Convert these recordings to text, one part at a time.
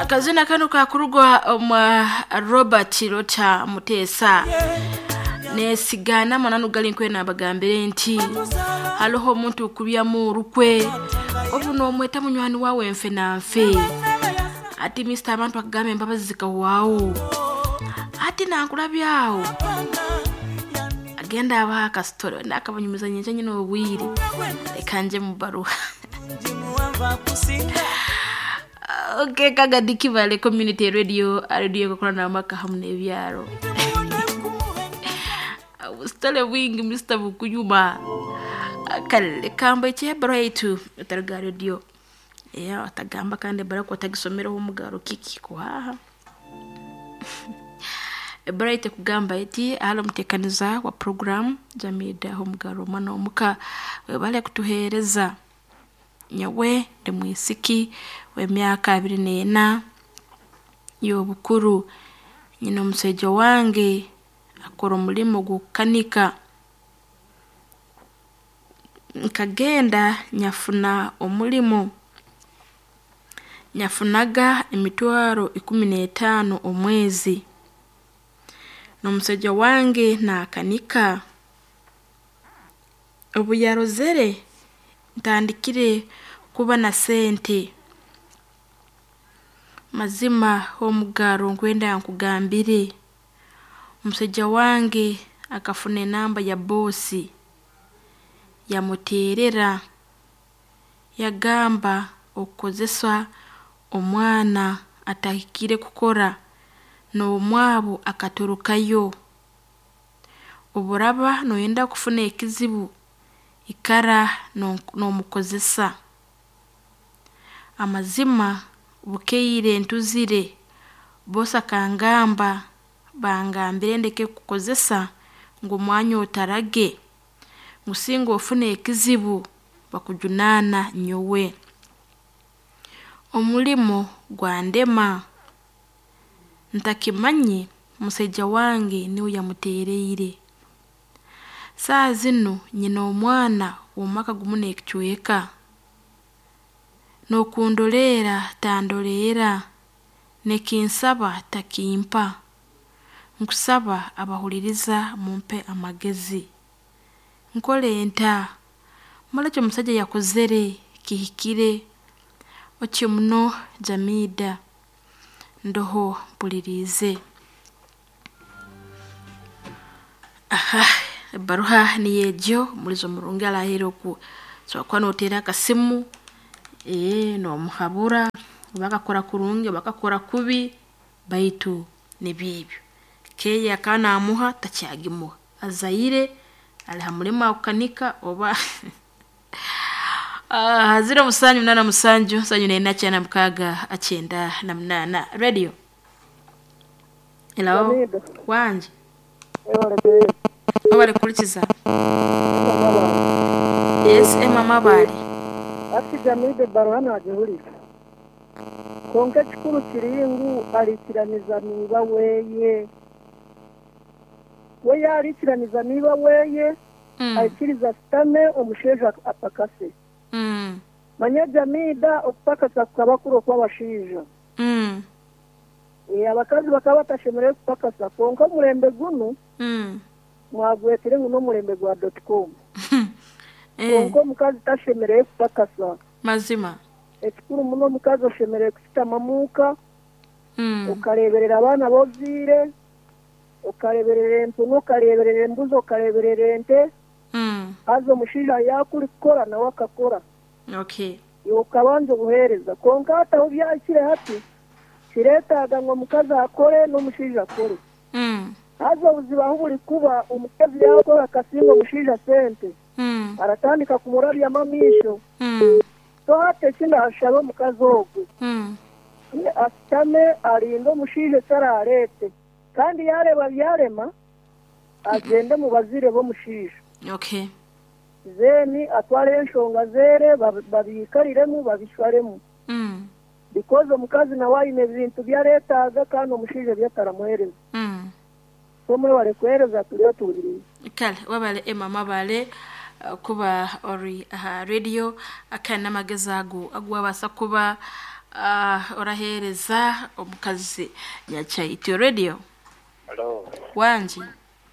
Akazina kano kakurugwa omwa Robert Rota Muteesa. Nesigana amananu gali nkwena abagambire nti hariho omuntu okubyamu orukwe obu nomweta munywani wawe nfe na nfe ati Mr. Abantu akagamba embabazi zikahwaho ati nankurabyaho agenda abaha akasitore nakabanyumiza nyenje nyine obwire reka nje mu baruha. Okay, Kagadi Kibale Community Radio, radio kukorana amaka hamwe n'ebyaro. Ubusitale bwingi Mr. Bukuyuma. Kale kamba ekyebaro yaitu otariga radio. Yeah, atagamba kandi barako atagisomereho omugaro kiki kuhaha. Bright kugamba eti halo mutekaniza wa program Jamida omugaro omwana omuka webale kutuhereza. Nyawe ndi mwisiki w'emyaka 24 y'obukuru. Nyina omushaija wange akora omurimo gw'okukanika. Nkagenda nyafuna omurimo. Nyafunaga emitwaro 15 omwezi. N'omushaija wange naakanika. Obu yarozere ntandikire kuba na sente. Mazima omugaro nkwenda nkugambire. Omushaija wange akafuna enamba ya bosi yamuteerera yagamba okukozesa omwana atahikire kukora n'omwabo akatorokayo. Oburaba noyenda kufuna ekizibu ikara n'omukozesa. Amazima bukeire ntuzire bosi akangamba bangambire ndeke kukozesa ngu omwanya otarage ngu singa ofuna ekizibu bakujunaana nyowe. Omurimo gwandema. Ntakimanye omushaija wange niwe yamuteereire. Saaha zinu nyine omwana w'omwaka gumu n'ekicweka. N'okundoreera tandoreera, n'ekinsaba takimpa. Nkusaba abahuririza mumpe amagezi. Nkore nta? Mara eki omushaija yakozere kihikire? Otyo muno Jamida ndoho mpuririize. Aha, ebaruha niyo egyo omulizo murungi araheire oku osobola kuba noteera akasimu nomuhabura oba akakora kurungi oba akakora kubi baitu nibyebyo. Keeya akaba namuha takyagimuha. Azaire ari ha murimo akukanika oba 0787 74 98 radio. Hello. Jamida. Wanje. Ewale. Wabale kurikiza. Yes, Emma Mabale. Ati Jamida baruha nagihurira. Konka ekikuru kiri ngu arikiraniza niba weye. We yarikiraniza niba weye aikiriza sitame omusheija apakase. Manya Jamida okupakasa kukaba kuri okw'abashaija. Abakazi bakaba batashemereire kupakasa konka omurembe gunu mwagwetire ngu n'omurembe gwa .com. Konka omukazi tashemereire kupakasa. Mazima. Ekikuru muno omukazi oshemereire kusitama muuka, okareeberera abaana boziire, okareeberera empunu, okareeberera embuzi, okareeberera ente, haza omushaija yaakuri kukora nawe akakora. Okay. Iwe okabanza obuheereza. Konka hati ahu byahikire hati, kireetaaga ngu omukazi akore n'omushaija akore. Haza obuzibu ahu buri kuba omukazi yaakora akasinga omushaija sente, aratandika kumurabyamu amaisho. So hati eki ndashaba omukazi ogwo asitame arinde omushaija eki arareete. Kandi yareeba byarema agende mu baziire b'omushaija. Okay. Then atware enshonga zeere babikariremu babishwaremu. Because omukazi nawe aine ebintu byareetaaga kandi omushaija byataramuheereza. So mwebale kuheereza turiyo tuhuriire. Kale wabale Emma Mabale kuba ori aha radio akana amagezi ago agwabasa kuba Oraheereza omukazi Nyachaityo Radio. Halo. Wangi.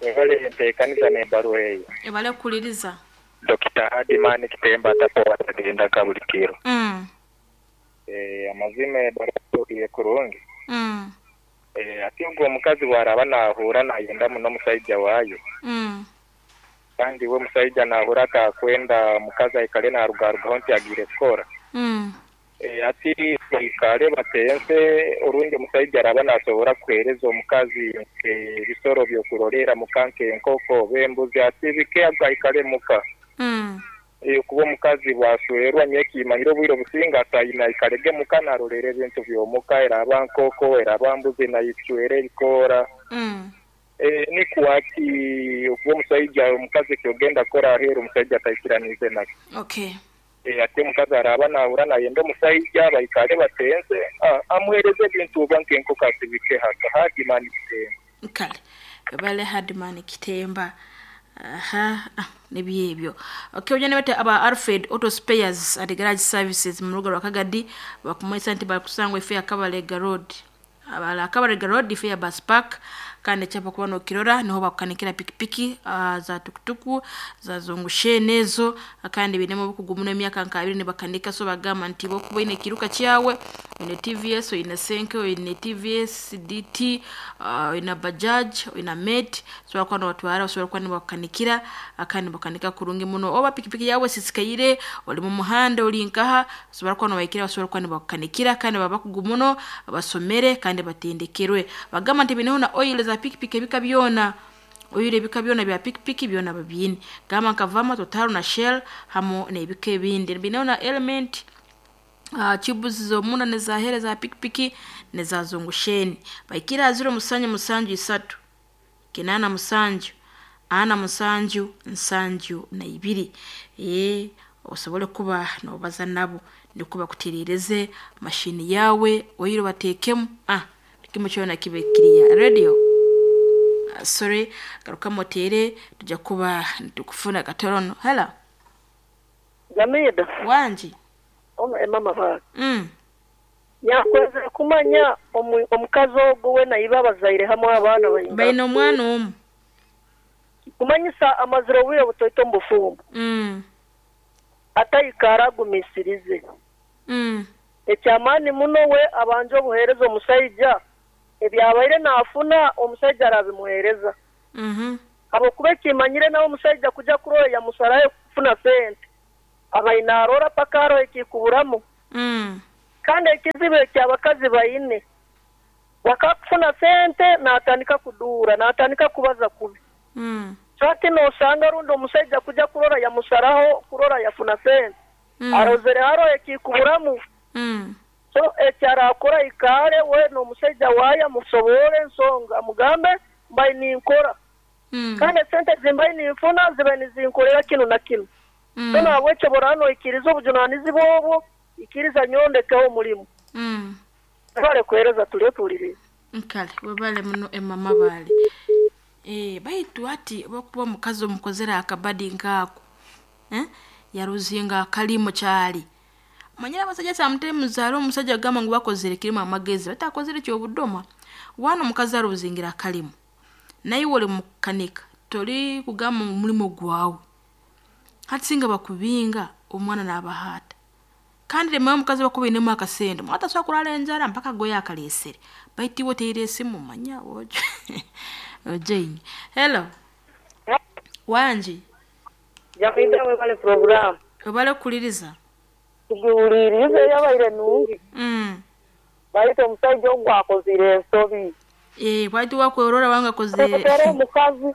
Webale enteekaniza n'ebbaluwa eyo. Webale kuhuliriza. Dokita Hardman Kitemba atapowa tagenda Kabulikiro. Eeh amazima ebbaluwa etuukire kurungi. Eeh ati ogwo omukazi bwaraaba nahuura nayenda muno omusaija waayo, kandi we omusaija nahuura atakwenda omukazi aikale narugarugaho nti agiire kukora. Eeh ati baikare batense orundi omusaija araaba nasobora kuhereza omukazi ebisoro byokurorera muka nk'enkoko oba embuzi ati bike ago aikale muka. Eeh kuba omukazi bwaswerwa nyowe kimanyire obwire obusinga asaine aikarege muka narorera ebintu byomuka eraba nkoko eraba mbuzi naicwera ebikoora. Eeh nikwo ati okuba omusaija omukazi ekyogenda kukora aheru omusaija ataikiraniize nakyo. Okay. Eeh ati omukazi araaba nahura nayenda omusaija baikare batense amuhereze ebintu oba nk'enkoko asibike haka Hardman Kitemba. Kale webale Hardman Kitemba. Aha nibyo ebyo. Okay oja nibete aba Alfred Auto Spares and Garage Services mu rubuga rwa Kagadi bakumanyisa nti barikusangwa eifo ya Kabalega Road. Abara Kabalega Road ifo ya Bus Park kandi ekyapa kuba nokirora niho bakukanikira pikipiki za tukutuku za zungusheni ezo kandi bainemu obukugu muno emyaka nka abiri nibakanika so bagamba nti bwokuba oine ekiruka kyawe oine TVS oine Senke oine TVS DT oine Bajaj oine Mate osobola kuba nobatwara osobola kuba nibakukanikira kandi nibakanika kurungi muno oba pikipiki yawe esisikaire ori mu muhanda ori nkaha osobola kuba nobahikira basobola kuba nibakukanikira kandi baba bakugu muno basomere kandi batendekerwe. Bagamba nti baineho na oil za pikipiki ebika byona oil ebika byona bya pikipiki byona babiine. Gamba nka Vama, Total na Shell hamu n'ebika ebindi. Baineho na element tubes z'omunda n'ezaheeru eza pikipiki n'eza zungusheni. Bahikire aha ziro musanju musanju isatu kinaana musanju ana musanju nsanju na ibiri. Ee osobole kuba nobaza nabo nikwo bakutereereze mashini yaawe oil bateekemu buri kimwe kyona kibe kiriya. Radio sorry garukamu oteere tujja kuba nitukufuna katorono. Hello. Jamida. Wangi. Emma Mabara. Nyakwenzire kumanya omukazi ogu we na iba abazaire hamwe abaana baingana. Baine omwana omwe. Kumanyisa amazire obwire butoito omu bufumbo. Ataikara agumisirize. Ekyamaani muno we abanje obuheereza omusaija ebyabaire naafuna omusaija arabimuheereza. Habwokuba ekimanyire nawe omusaija kuja kurora yamusarayo kufuna sente. Abaire naroora paka haroho ekikuburamu. Kandi ekizibu eki abakazi baine, wakakufuna sente natandika kuduura, natandika kubaza kubi. So hati nosanga rundi omusaija kuja kurora yamusaraho kurora yafuna sente. Arozere haroho ekikuburamu. So eki arakora ikare we n'omusaija waaye amusoboore ensonga amugambe mbaire ninkora. Kandi esente zimbaire ninfuna zibaire nizinkorera kinu na kinu. So nahabwekyo boraba noikiriza obujunanizibwa obwo, ikiriza nyowe ndekeho omurimo. Webale kuheereza turiyo tuhuririize. Kale webale muno Emma Mabale. Baitu hati obwokuba omukazi omukozere akabadi nk'ako yaruzinga akalimu kyali. Omanyire abasaija sometimes hariho omusaija agamba ngu bakozere kirimu amagezi baitu akozere ky'obudoma. Waana omukazi aruzingire akalimu, naiwe ori mukukanika torikugamba ngu omurimo gwawe. Hati singa bakubinga omwana naabaha ata? Kandi remera omukazi obu akuba ainemu akasente, omwana tasobola kurara enjara mpaka agoye akareesere. Baitu iwe oteire esimu manya ojoine. Hello. Wangi. Jamida webale puroguramu. Webale kuhuliriza. Tugihuliriize yabaire nungi. Baitu omusaija ogu akozire ensobi. Bwaitu wakwerora wanga akozire. Era omukazi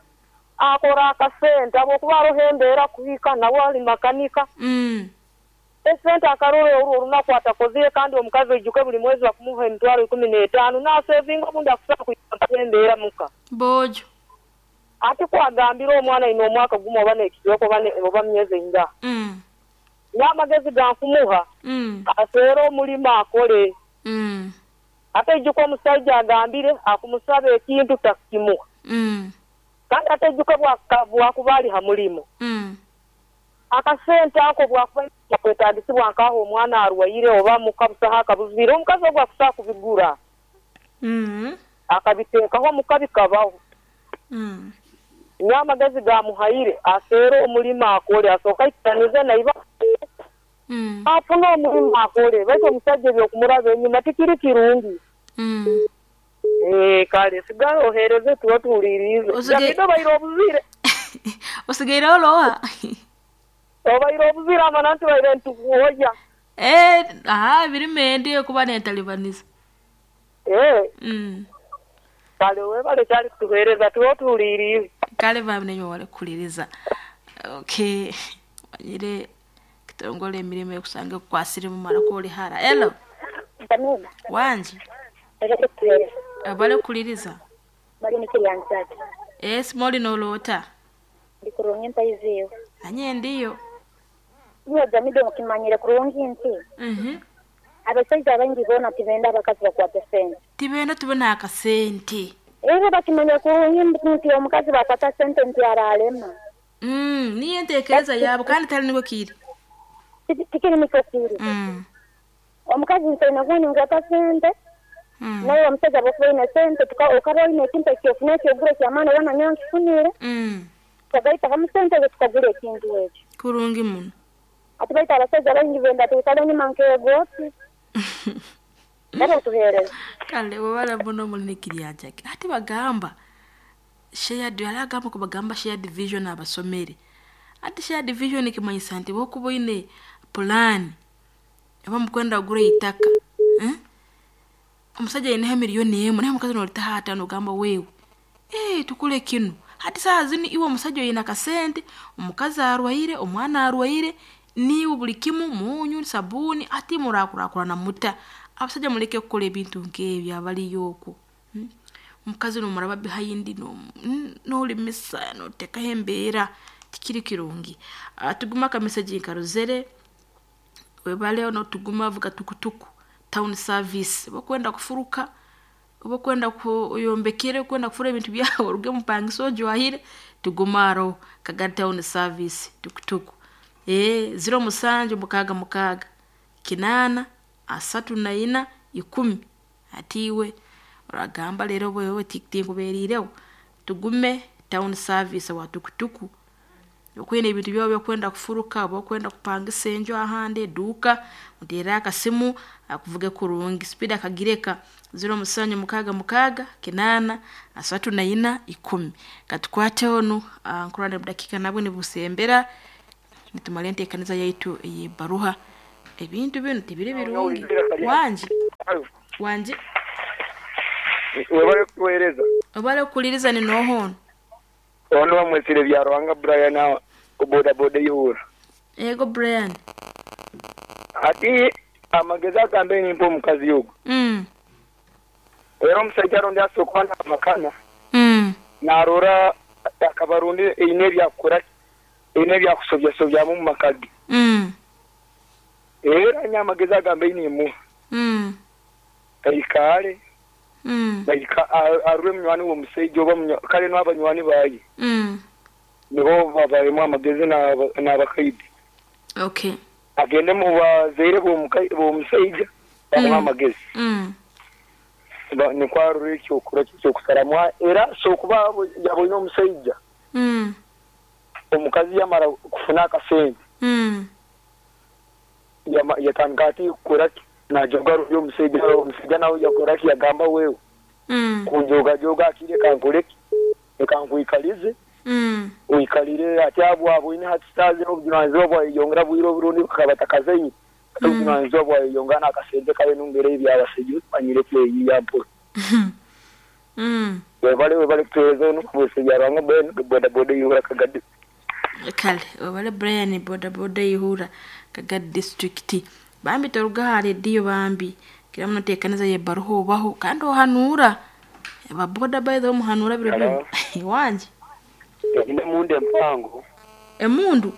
akora akasente habwokuba haroho embeera kuhika nawe ali makanika. Esente akarora orwo orunaku atakozire kandi omukazi oijuke buri mwezi bakumuha emitwaro ikumi n'etaano nasevinga obundi akusobola kuyambaho embeera muka. Boojo. Ati ku agambire omwana aine omwaka gumwe oba n'ekicweka oba myezi eingaha. N'amagezi gankumuha aswere omurimo akore. Ate oijuke omusaija agambire akumusaba ekintu takukimuha. Kandi ate oijuke bwakuba ari ha murimo. Akasente ako bwakuba nikakwetagisibwa nk'aho omwana arwaire oba muka busaho akabuzire, omukazi ogwo akusobola kubigura. Akabiteekaho omuka bikabaho. Nyowe amagezi gamuhaire aseere omurimo akore, asooke aikiranize na iba afune omurimo akore baitu omusaija eby'okumuraba enyima tikiri kirungi. Kale sigara oheereze tuba tuhuliiriize. Davido obaire obuzire. Osigaire ori oha? Obaire obuzire amana ntubaire nitukuhoya. Aha birimo endi kuba nentalibaniza. Kale webale kyali kutuheereza tuba tuhuliiriize. Kale bambi nainywe mwebale kuhuliriza. Okay, manyire kitongole emirimo ekusanga ekukwasire mumara kori hara. Hello. Pamela. Wangi. Webale kutuheereza. Webale kuhuliriza. Bari nikiryanzaki. Simoli noloota. Ndi kurungi ntaiziiwe. Nanye ndiyo. Iwe Jamido nkimanyire kurungi nti abasaija abaingi boona tibenda abakazi bakwate sente. Tibenda tubone akasente. Era bakimanya kurungi nti omukazi bakwata sente nti aralema. Niyo entekereza yaabo kandi tari nikwo kiri. Tikiri nikwo kiri. Omukazi ntaine gundi nkwata sente. Nawe omusaija bwokuba oine sente okaba oine ekintu ekyofuna ekyogura ekyamaani oba nanyowe nkifunire. Tukagaita hamu sente ezo tukagura ekintu ekyo. Kurungi muno. Ati baitu abasaija baingi benda twikale enyuma nk'egooti. Nabo tuheereza. Kale webale muno muli nikiryanjaki. Hati bagamba shared hariho agamba kubagamba shared vision abasomere. Hati shared vision ekimanyisa nti bwokuba oine pulaani oba mukwenda kugura eitaka, omusaija aineho emiliyoni emwe naye omukazi noritaho ataano ogamba wewe tukore kinu. Hati saaha zinu iwe omusaija oine akasente, omukazi arwaire, omwana arwaire, niiwe buri kimu munyu, sabuuni, hati murakurakurana muta? Abasaija muleke kukora ebintu nk'ebyo abariyo okwo. Omukazi nomuraba behind norimisa notekaho embeera tikiri kirungi. Tugume akameseji nkarozere, webale notuguma avuga tukutuku town service. Oba okwenda kufuruka, oba okwenda oyombekere, okwenda kufura ebintu byawe oruge omupangisa ojwahire, tugume aroho Kagadi town service tukutuku. 07 66 8 34 10. Hati iwe oragamba reero wewe tinkuberiireho. Tugume town service owa tukutuku. Okwine ebintu byawe ebyokwenda kufuruka oba okwenda kupangisa enju ahandi eduuka, oteere akasimu akuvuge kurungi. Speed akagireka 07 66 8 34 10. Katukwate onu nkurora obudakiika nabwo nibusembera nitumara enteekaniza yaitu ey'ebaruha. Ebintu binu tibiri birungi. Wangi? Wangi? Webale kutuheereza. Webale kuhuliriza ni nooha onu? Onu bamwesire Byaruhanga Brian bodaboda eihura. Ego Brian. Hati amagezi agambe nimpa omukazi ogwo. Era omusaija rundi asobola kuba nampakana, narora akaba rundi eine ebyakukora ki, eine ebyakusobyasobyamu omu maka ge. Era nyowe amagezi agambe nimuha, aikaare, arore munywani w'omusaija oba kare n'abanywani baye nibo babahemu amagezi n'abakaidi. Okay. Agende mu bazaire b'omusaija bamuhe amagezi. Nikwo arore ekyokora ekyokusaramu era asobola kuba yaboine omusaija omukazi yamara kufuna akasente yatandika ati kukora ki najoga rundi omusaija omusaija nawe yakora ki yagamba wewe kunjogajoga ati reka nkore ki reka nkwikalize oikalire ati aboine hati saaha zinu obujunanizibwa bwayeyongera bwire oburundi bakaba batakazaire hati obujunanizibwa bwayeyongera n'akasente kare nongera ebyabasaija omanyire kweyiiya mpora. Webale webale kutuheereza onu Bwese Byaruhanga Brian bodaboda eihura Kagadi. Kale webale Brian bodaboda eihura Kagadi district. Bambi toruga aha rediyo bambi kira muno teekaniza y'ebaruha obaho kandi ohanuura. Aba boda by the way muhanuura biro byona. Wangi? Eine emundu empango. Emundu?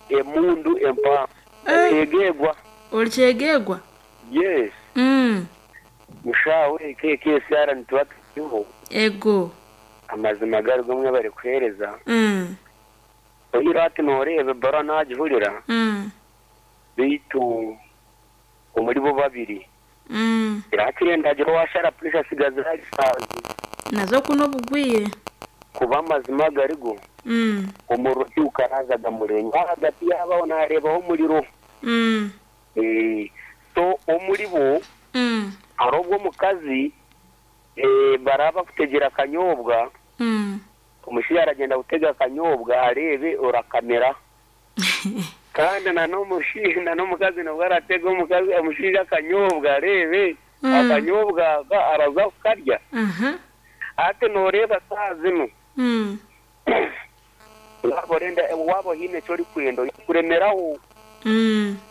Emundu empango. Kyegeegwa. Ori kyegeegwa? Yes. Mushaawe KKCR nituba turiho. Ego. Amazima gari gomwe bari kuheereza. Oyireho ati nooreeba ebaruha naagihurira, beitu omuri bo babiri hakiri ndagira owaashara puresha atsigaze ahari saazi. Nazo ku n'obugwire. Kuba amazima agarigo, omuriro tigukarazaga murenga. Ahagati yaabo aho naareebaho omuriro. So omuri bo hariho obu omukazi baraba bakutegyera akanyobwa, omushaija aragyenda kutega akanyobwa areebe orakamira. Kandi na n'omukazi nabwo aratega omukazi omushaija akanyobwa areebe akanyobwa aka araza kukarya. Hati nooreeba saaha zinu waaba orenda waaba oine eki orikwenda oine kuremeraho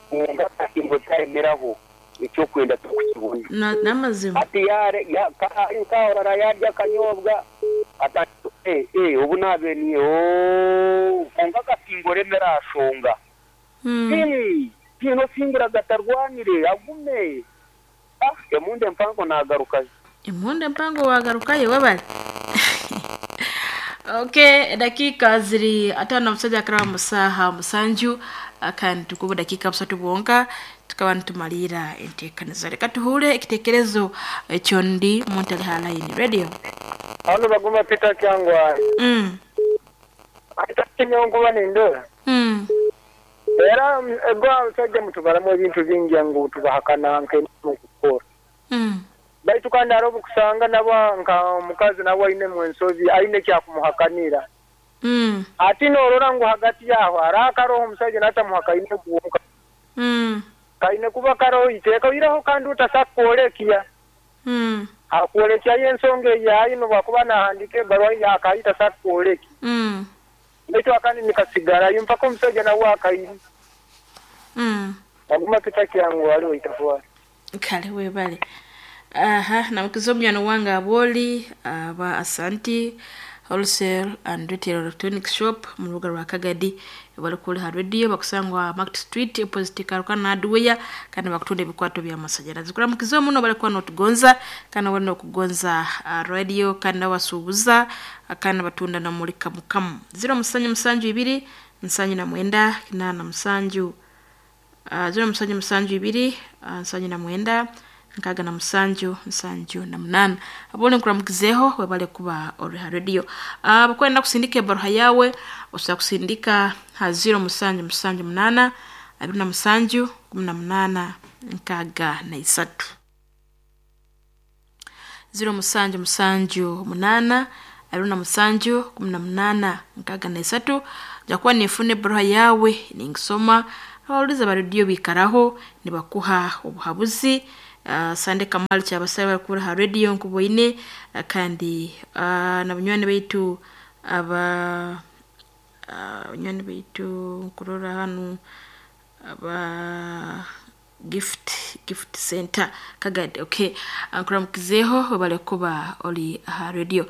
kwonka akasimba otaremeraho eki orikwenda torikukibona. N'amazima. Hati yaare ya ka ari nk'aho orara yaarya akanyobwa atandika eh eh obu naabaire ni ooh kwonka akasimba oremera aha shonga. Hii tihaine osingura gatarwanire agume. Ah emundu empango naagarukayo. Emundu empango waagarukayo webare. Okay, edakiika ziri 57 akaraba mu saaha 7 kandi tukuba dakiika 3 bwonka tukaba nitumaliira enteekaniza. Reka tuhuure ekiteekerezo ekyondi muntu ali ha line. Radio. Hano Baguma Peter Kyangwali. Ati nyowe nkuba nindora. Era ego abasaija mutubaramu ebintu bingi ngu tubahakana nk'emirimo kukora. Baitu kandi hariho obukusanga nabo nka omukazi nawe ainemu ensobi aine ekyakumuhakanira. Ati norora ngu hagati yaho hariho akaroho omusaija natamuhakaine kwonka. Kaine kuba karoho iteeka oihireho kandi otasa kworekya. Akwolekyayo ensonga ei aine obu akuba nahandiika ebaruha ye akahita asa kukwolekya. Baitu akandi nikasigarayo mpaka omusaija nawe akaine. Aguma kitakyanguha haliwe itafwari. Kale webale. Aha, namukiza omunywani wange Aboli aba Asanti Wholesale and Retail Electronics Shop mu rubuga rwa Kagadi bari kuri ha radio bakusangwa Market Street opposite Karukana Hardware kandi bakutunda ebikwato by'amasanyarazi. Kuramukiza muno bari kuba notugonza kandi bari nokugonza radio kandi nabasuubuza kandi batunda na muri kamukamu. 0772 79 87 0772 79 67 78 abone nkuramukizeho webale kuba ori ha radio. Abakwenda kusindika ebaruha yawe osobola kusindika ha 0778 27 18 63 0778 27 18 63 nja kuba ninfuna ebaruha yawe ningisoma. Abawuliza ba rediyo biikaraho nibakuha obuhabuzi. Sande Kamali kyabasaba bari kubura ha rediyo nkuboine kandi na banywani baitu aba banywani baitu nkurora hanu aba gift center Kagadi. Okay, nkuramukizeho webale kuba ori aha radio.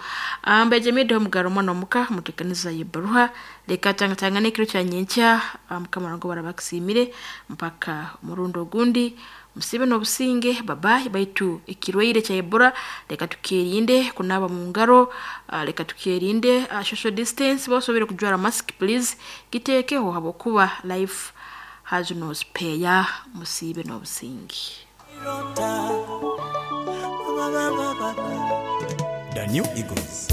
Mbeje mido mugaro omwana omuka mutekaniza yebaruha leka tangatangane ekiro kya nyenkya mukama wange barabakusiimire mpaka omurundi ogundi musibe n'obusinge babayi. Baitu ekirwaire kya Ebola leka tukyerinde kunaaba mu ngaro, leka tukyerinde social distance, bosobere kujwara mask please giteekeho habwokuba life has no spare. Musibe n'obusinge. The New Eagles.